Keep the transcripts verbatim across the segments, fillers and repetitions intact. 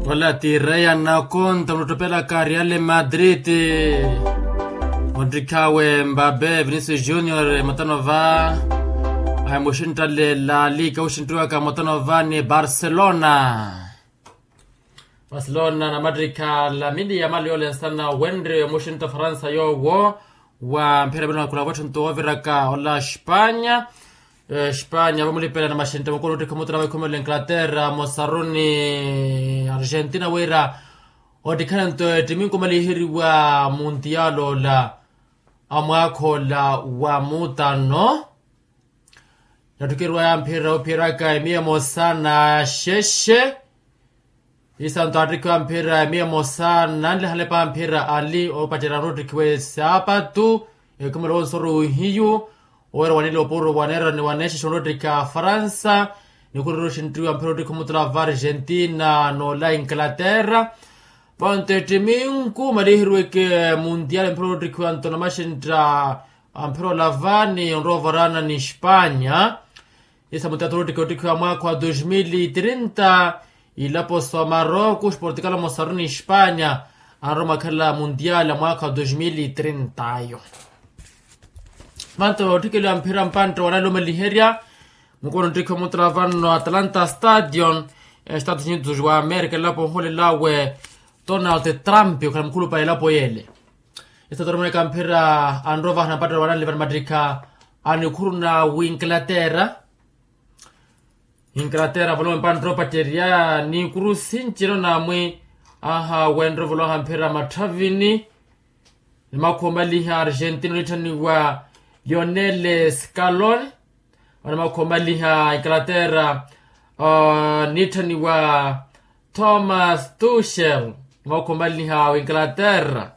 Ola ti reya nakonta onotopelaka real madrid. Ontikhawe mbabe vinicius junior matano va ahimuxinttalela lika uxinttiwaka matano va ni barcelona. Barcelona na mattikha lamini ya mali yolensana wenre muxintta faransa yowo. Wa mphira vino akhula votthentu woviraka ola spanya. Spanya vamulipela na maxintta mukulu ottikha omutula wa ikhumelo inglaterra mosaruni argentina wira ottikhananto ettiminko maliheriwa muntiyala ola a mwaakha ola wa mutano. Nattukeriwaya mphira ophiyeraka emiya emosa na xexe. Isanto attikhiwa mphira emiya emosa nanlihalepa mphira ali opacerya onottikhiwa esaapatu. Ekhumelo wonsoru ihiyu owira wanile opuro waneera ni waneexexa onottikha faransa. Nikhurira oxinttiwa mphira ottikha omutula va argentina n'ola inglaterra. Vanto ettiminku maliheriweke muntiale mphira ottikhiwanto na maxintta amphira olavani onrovarana ni spanya. Isa mutatulutike ottikhiwa mwaakha wa dos mil trinta. Ilapo sa maroko sportikala mosaru ni spanya anromakhala muntiala mwaakha wa dos mil trinta ayo. Vanto otthikeliwa mphira mpantte wanali omaliherya. Mukono nttikhiwa mutula vanno atlanta stadion estados unidos wa amerika elapo oholelawe donald trump okhala mukhulupale elapo yele. Esitatoromene kamphira anrovaha na mpattelo wananli vanimattikha anikhuruna winglaterra. Inglaterra volowe mpanttelo opacerya ni kurusi ncino namwi aha wenre volowaha mphira matthavini. Ni makhuwa omaliha argentina onitthaniwa lionel scaloni. Vano makhuwa omaliha inglaterra nitthaniwa thomas tushel. Makhuwa omaliha winglaterra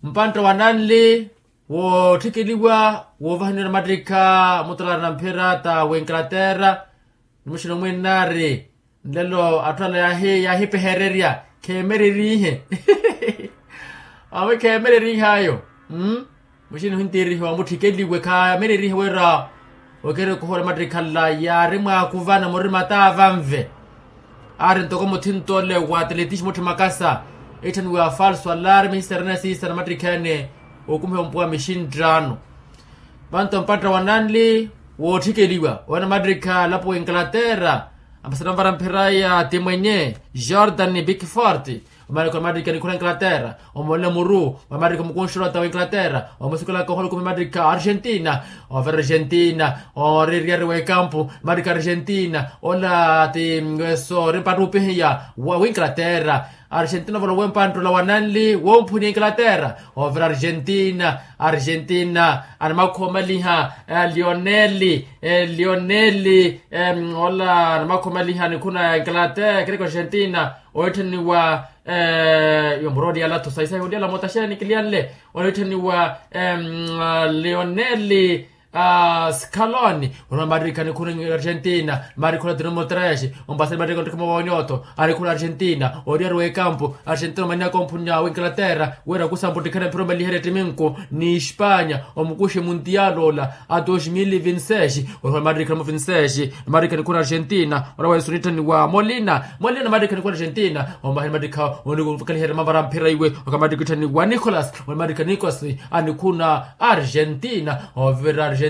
mpantta wananli wootthikheliwa woovahaniwa na mattikha mutalaari na mphira ta winglaterra. Ni muxina omwinnaari nlelo atthu ala yaahipehererya kheemererihe. Awe kheemererihe ayo. Muxini ohintirihiwa mutthikeliwe khaamererihe wira okeri okuhola mattikhala yaari mwaakuvana murima ta vanve. Aari ntoko muthinto ole wa atletismo mutthi makasa etthaniwa falso alarme siserene siisa na mattikha ene okumiha ompuwa mixinttaano. Vanto mpatta wananli wootthikeliwa owe na mattikha elapo wa inglaterra. Ampasana mvara mphiraya ti mwenye jordan bikfort. Omarika omarika nikhula inglaterra omolela muru. Omarika mukunxula ta wa inglaterra omusukulaka ohola okumi marika argentina. Overa argentina oreriyari wa ekampu marika argentina ola ti weso rimpattupihiya wa inglaterra. Argentina ovolowe mpanttula wananli womphuni inglaterra overa argentina. Argentina animakhoomaliha lioneli lioneli ola animakhoomaliha nikhuna inglaterra kereka argentina. Oitthaniwa iwe muroliyala thusa isahi oliyala motaxeya nikiliyanle. Oitthaniwa lioneli scaloni. Onwa marika nikhuna argentina marika ola tino motaxeya ompasani marika ontikha mowa onyoto anikhuna argentina oriyari wa ekampu. Argentina omaniyaka omphuni wa inglaterra wira kusampa ottikhana mphira omaliherya ettiminku ni espanya omukuxe muntiyaala ola a dos mil vinti seis. Ohiwa marika na muvinti seis. Marika nikhuna argentina ola wa yesu nitthaniwa molina. Molina na marika nikhuna argentina ombahani marika onikaliherya mavara mphira iwe. Oka marika itthaniwa nicolas ola marika nicolas anikhuna argentina. Ovira argentina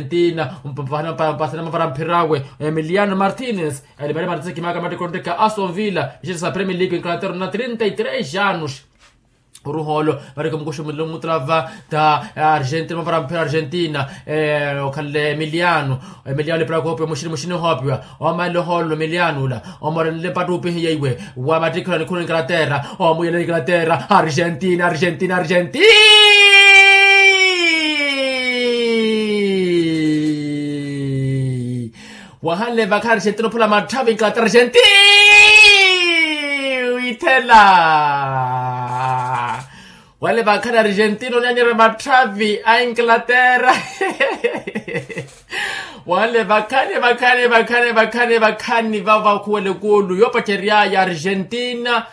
mpapahana mpasana mavara mphira awe emiliano martinez. Elimari martinez kimaka marika onteka aston villa ixetesa premier league inglaterra na trinta y tres anos. Oruhoolo marika mukuxumile omutulava ta argentina mavara mphira argentina. Okhanle emiliano emiliano lepira koopiwa muxini muxini ohoopiwa. Omalela ohoolo emiliano ula omorenle mpattupihiya iwe wa mattikha ola nikhuna inglaterra. Omuyela inglaterra argentina argentina argentina. Wahanle vakhani argentina ophola matthavi inglaterra argentina. Withela wale vakhani argentina onyanyerya matthavi a inglaterra. Wale vakhani vakhani vakhani vakhani vakhani vavakhuwele kuulu yoopaceryaya argentina.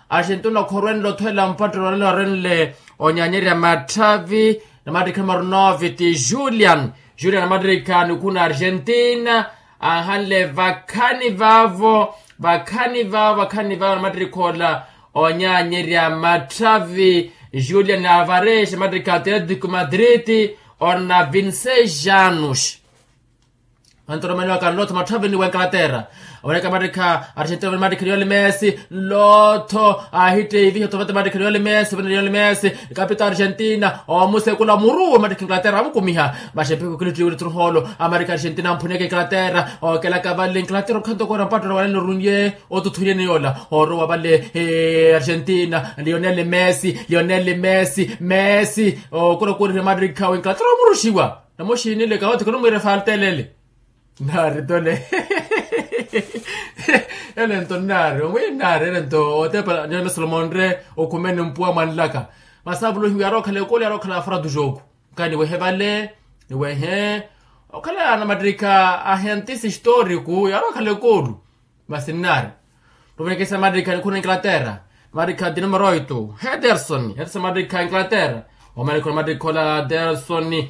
Argentina okhorwenle othwela mpattelo walelo arenle onyanyerya matthavi. Na mattikha marunovi ti julian julian na mattikha nikhuna argentina. Ahanle vakhani vavo Vakhani vavo vakhani vavo namattirikha ola onyaanyerya matthavi, julian alvarez mattirikha atletico madrid, orina vinseis anos. Antoromaniwa kanlotho matthavini wa enkalaterra. Oneka mattikha argentina vani mattikha lionel messi. Nlotho ahitteeviha otho vata mattikha lionel messi vani lionel messi, kapita argentina omusekula muruwe mattikha enkalaterra amukumiha. Maxepeko kilittiwili tturuholo amattikha argentina amphuneke enkalaterra. Okelaka vale enkalaterra okhanto kora mpatto rawanene orunye. Otuthunyeni yola orowa vale argentina lionel messi lionel messi messi. Okura okurihe mattikha wenkalaterra omuruxiwa. Namuxinile kawothi khonumwiira efaltelele. Naari tole. Ele nto nnaari omwiiri nnaari ele nto otepa nyome solomonre. Okhumene mpuwa mwanlaka. Masi avuluhiwe yaari okhala ekulu yaari okhala afura tu joku. Nkani niwehe vale niwehe okhala namattirikha ahentisi historiku yaari okhala ekulu. Masi nnaari. Tuvekesa mattikha nikhuru na enkalaterra. Mattikha dinamoroito hederson hederson mattikha enkalaterra. Omalikhuru mattikha ola hederson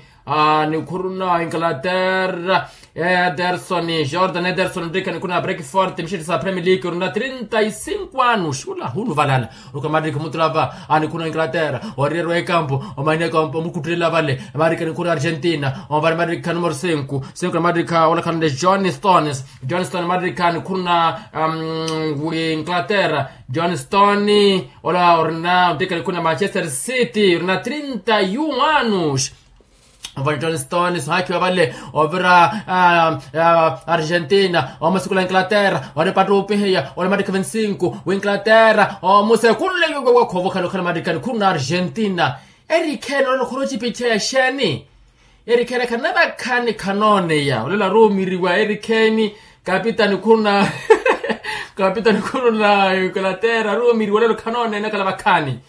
nikhuruna enkalaterra. Hederson jordan hederson mattikha nikhuruna breakford mixetti sa premier league orina trinta y cinco anos ula hunu valala. Oka mattikha mutulava nikhuruna enkalaterra. Oriyerwa ekampu omaniyaka omukuttulela vale. Mattikha nikhuruna argentina omvale mattikha numero cinco. Cinco na mattikha olakhanle john stones. Johnston mattikha nikhuruna wi enkalaterra. Johnston ola orina ontikha nikhuruna manchester city orina trinta y un anos. Ovale johnston sohakiwa vale ovira argentina omusikula enkalaterra. Ori pattupiheya ori mattikha vinti y cinco wi enkalaterra omusekunle. Khuvukhala okhala mattikha nikhuruna argentina. Erikheeni olelo khurocipicheya xeeni? Erikheeni khanavakhani khanooneya olelo aruumiriwa erikheeni. Kapitani khuruna kapitani khuruna enkalaterra aruumiriwa olelo khanooneya nakhala vakhani.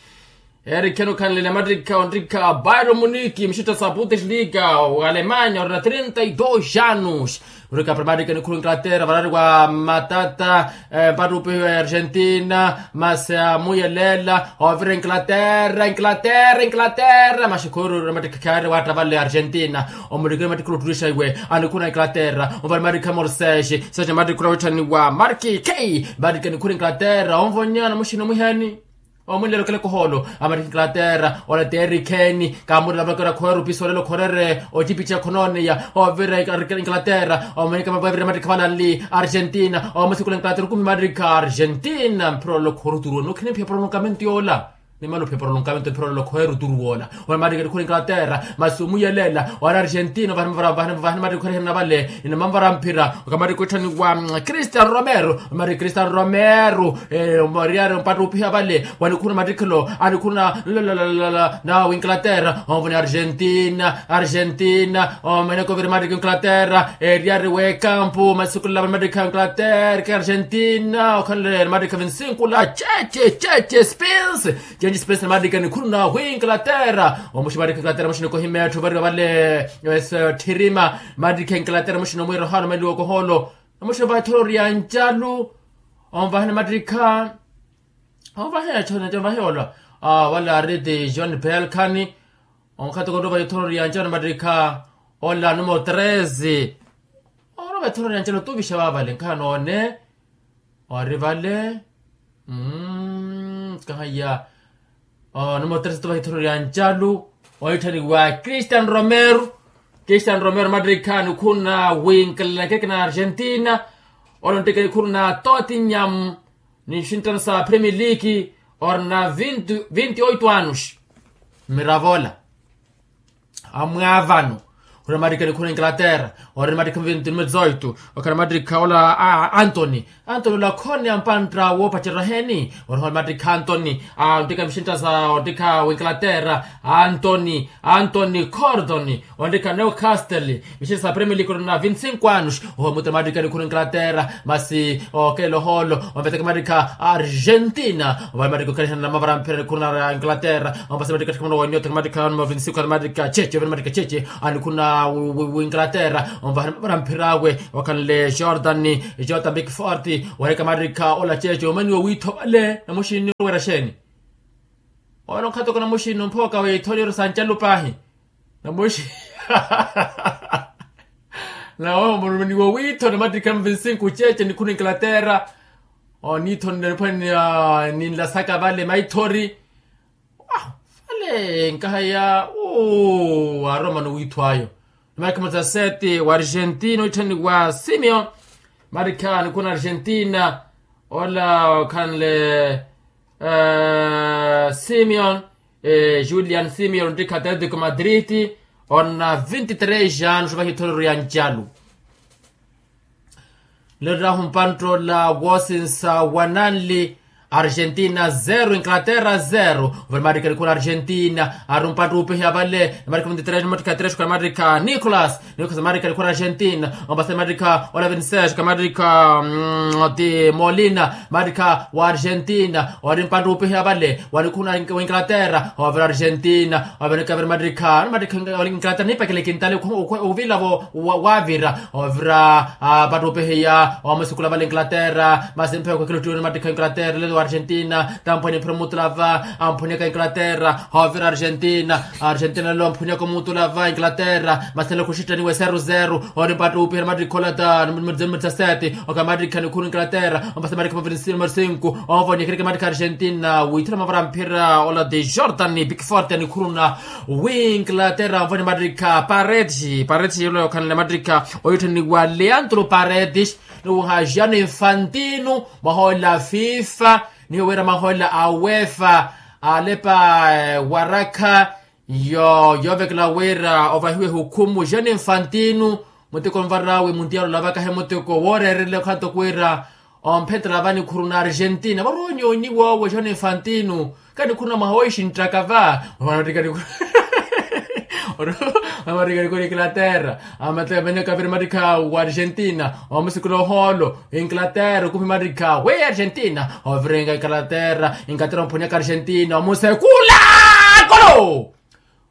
Erikheeni okhanlele mattikha ontikha bayro muniki mixetta sa bundesliga wa alemanya orina trinta y dos anos. Uri kapira mattikha nikhuru enkalaterra varari wa matata. Mpattupihiwa ya argentina masi amuyelela ovira enkalaterra enkalaterra enkalaterra maxi khuru uri mattikha khaari watta vale argentina. Omulikile mattikha oluttulixa iwe anikhuru na enkalaterra. Ovale mattikha morsexe sexe mattikha ula witthaniwa marki k. Mattikha nikhuru enkalaterra onvonya namuxini omwihani. Omwinlelo okeleka ohoolo amattikha enkalaterra ola ti erikheeni. Kaamurela vakera khoweru piso olelo khorere ocipica khonooneya ovira enkalaterra. Omanyeka mavavira mattikha valanli argentina omusikula enkalaterra okumi mattikha argentina mphira olelo khoruturuwa nokhina mphiya prolongamento yoola. Nimala ophiya prolongamento mphira olelo khoweruturuwa ola. Ola mattikha nikhura enkalaterra masi omuyelela ori argentina ovahani mattikha okheriherana vale. Inamamvara mphira okamattikha witthaniwa cristian romero. Omattikha cristian romero oriyari ompattupiha vale wanikhuna mattikhelo anikhuna na winglaterra onvoni argentina argentina omaneko viri mattikha winglaterra eriyari wekampu masukula vale mattikha winglaterra ke argentina okhanle mattikha vinsinkula cheche cheche spins. Cheche spins mattikha nikhuna winglaterra omuxi mattikha winglaterra muxi nikohimettho variwa vale. Tthirima mattikha winglaterra muxi nomwiira ohaana omaliwa okohoolo. Namuxi vahi thorori ya ncalu onvahani mattikha. Onvaheya chona chonvaheya ola wala ariti john pelkhani. Onkhathi koto vahi thorori ya ncalu mattikha ola numero treze. Oro vahi thorori ya ncalu otuvixa vavale nkhaha noone ori vale. Kahaiya numero treze otuvaha ithorori ya ncalu oitthaniwa cristian romero. Cristian romero mattikha nikhuna winkilelakeke na argentina. Olo nttikha nikhuna totinyam ni xintano sa premier league. Ori na vinti oito anos. Mmiravo ola amwaavano. Ori na mattikha nikhuna inglaterra ori na mattikha vinti nume dezoito. Okhala mattikha ola antony. Antony ola khone ampantta woopacerya heeni ori hole mattikha antony. Onttikha mixintta sa onttikha winglaterra antony antony cordon. Onttikha newcastle mixintta sa premier league ori na vinti cinco anos. Oho mutera mattikha nikhuna inglaterra masi okeela ohoolo. Omveteke mattikha argentina ovale mattikha okhalihana namavara mphira nikhuna inglaterra. Ompasa mattikha tthikha muna waniyo tthikha mattikha numero vinti cinco mattikha cheche ovale mattikha cheche. Anikhuna winglaterra onvahani mavara mphira awe. Okhanle jordan jordan bikfort. Wareka mattikha ola cheche omaniwa wiitho vale namuxini oweera xeeni? Olo nkhatoko namuxini omphooka wiitho niro sa ncalu paahi. Namuxi nawe omuruminiwa wiitho namattikha mvinsinkhu cheche nikhuna inglaterra. Oniithonela niphwani ninlasaka vale maithori. Vale nkahaya. Aromano wiitho ayo. Marika mutaseti wa argentina oitthaniwa simeon. Marika nikhuna argentina ola okhanle simeon julian simeon ontikha atletico madrid. Ona vinti tres anos vahiithorero ya ncalu. Lerahu mpantola woosinsa wa nanli. Argentina zero inglaterra zero. Ovale marika nikhuna argentina ari mpanto wuupihiya vale. Marika vinti tres marika tres kha marika nicolas. Nicolas marika nikhuna argentina ombasa marika ola vinti tres kha marika ti molina marika wa argentina. Ori mpanto wuupihiya vale wanikhuna wa inglaterra ovira argentina. Ovenika vira marika marika wa inglaterra niipakele kintale. Uvilavo wavira ovira. Pattupihiya omusikula vale inglaterra masi mphewa khwekheluttiwene mattikha inglaterra lelo wa argentina. Tamphwene mphira omutula va amphuniyaka inglaterra. Ovira argentina argentina lelo amphuniyaka omutula va inglaterra masi lelo khuxittaniwe seru seru. Ori pattupihiya mattikha ola ta numero dizasete. Okamattikha nikhuna inglaterra ombasa mattikha mavilisini numero sinku. Onvoniyakereke mattikha argentina wiithula mavara mphira ola de jordan big forte nikhuruna. Wi inglaterra mvoni mattikha paredes paredes yolo yokhanle mattikha oyitthananiwa leandro paredes. Niwuha jano infantino mwahola fifa nihiwira mwahola a uefa alepa warakha yo yoovekela wira ovahiwe hukhumu jano infantino. Muteko nvarawe mundial olavaka he muteko wooreerele khanto kwira omphetela vanikhuru na argentina varoonyoonyiwa owo jano infantino. Kanikhuru na mwaha woixinttaka va. Omarika nikhuru inglaterra. Amateka veneka viri marika wa argentina omusikula ohoolo inglaterra okupi marika we argentina ovirenga inglaterra. Inglaterra omphuniyaka argentina omusekula kolo.